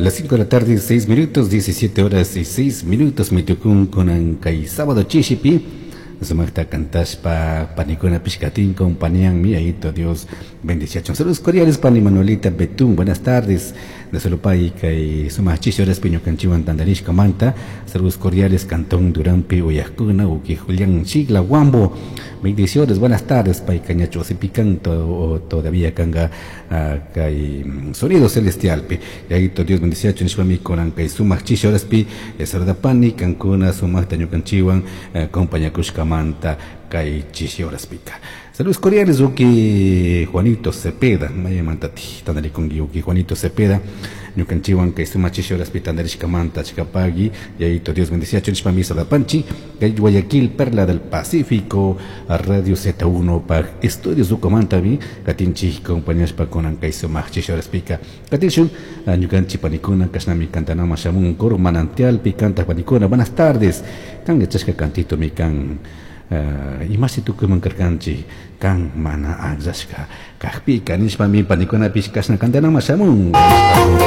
Las 5 de la tarde, 6 minutos, 17 horas y 6 minutos, mitukun kunan kay sábado chishipi, sumaqta cantashpa panikuna pishkatin compañían ayito Dios bendiciachun. Saludos cordiales pani Manuelita Betún, buenas tardes. De Solopay kay sumaq chishi horaspi ñukanchiwan tandarishka manta. Saludos cordiales Cantón Durampi Uyajkuna uki Julián Chigla Huambo. Bendiciones, buenas tardes pay cañacho canto todavía kanga kay sonido celestialpi. Yayito Dios bendiciachun nishpami kunan kay sumaq chishi horaspi saludapani kankuna sumaqta ñukanchiwan compañakushkamanta kay chishi horaspika. Saludos cordiales uki Juanito Cepeda, maymantati tandarikunki uki Juanito Cepeda, ñukanchiwan kay sumaq chishi horaspi tandarishkamanta chikapagui, yayito Dios bendiciachun nishpami saludapanchi, kay Guayaquil, Perla del Pacífico, Radio Z1 pa estudios ukumantami, katinchi compañashpa kunan kay sumaq chishi horaspika. Katinshun, ñukanchi panikuna kashnami kantanama shamun coro manantialpi kantaq panikuna, buenas tardes, kan yachashka kantito mi kan imashi tukuyman karkanchik kan mana akllashka kajpika nishpami panikunapish kashna kantanama shamun.